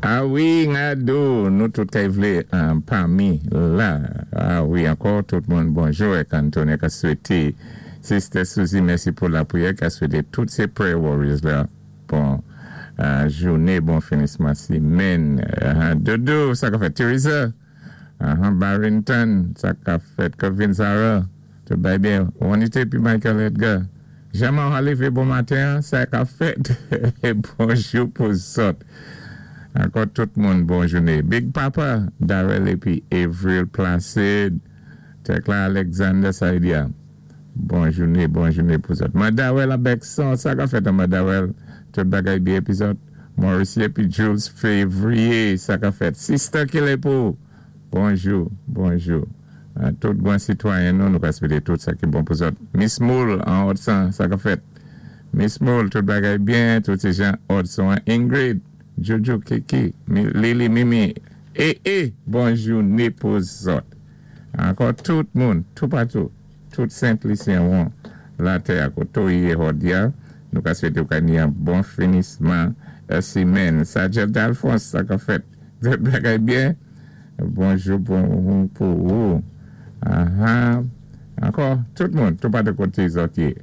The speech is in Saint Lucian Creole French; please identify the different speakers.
Speaker 1: A wi, Ngado, nou tout kay vlé pami la. A wi, ankò tout moun bonjou èk Antonia ka swété Sister Suzy mèsi pou lapriyè, ka swété tout sé prayer warriors la bon jouné, bon finisman simèn. Dodo, sa ka fèt? Teresa, Barrington, sa ka fèt? Kevin, Sarah, tout bay byen? Juanita épi Michael Edgar. Jaman Halife, bon maten, sa ka fèt? Bonjou pou zòt. Ankò tout moun bon jouné. Big Papa, Darrell épi Avril Placide, Tekla Alexander Saidia. Bon jouné, bon jouné pou zòt. Madawel Abekson, sa ka fèt an Madawel? Tout bagay byen épi zòt. Maurice épi Jules Février, sa ka fèt? Sister Kilepou, bonjou, bonjou. Tout gwan sitwayen nou, nou ka swété tout sa ki bon pou zòt. Miss Moule an Odson, sa ka fèt? Miss Moule, tout bagay byen, tout sé jan Odson an. Ingrid, Jojo, Kiki, Lili, Mimi, e e, bon jouné pou zòt. Ankò tout moun, toupatou, tout Sent Lisyen won latè a koto yé hòdi a, nou ka swété ou ka ni yon bon finisman simèn. Sajel Dalphonse, sa ka fèt? Tout bagay byen? Bonjou pou ou. Aha. Ankò, tout moun, toupatou koté zòt yé.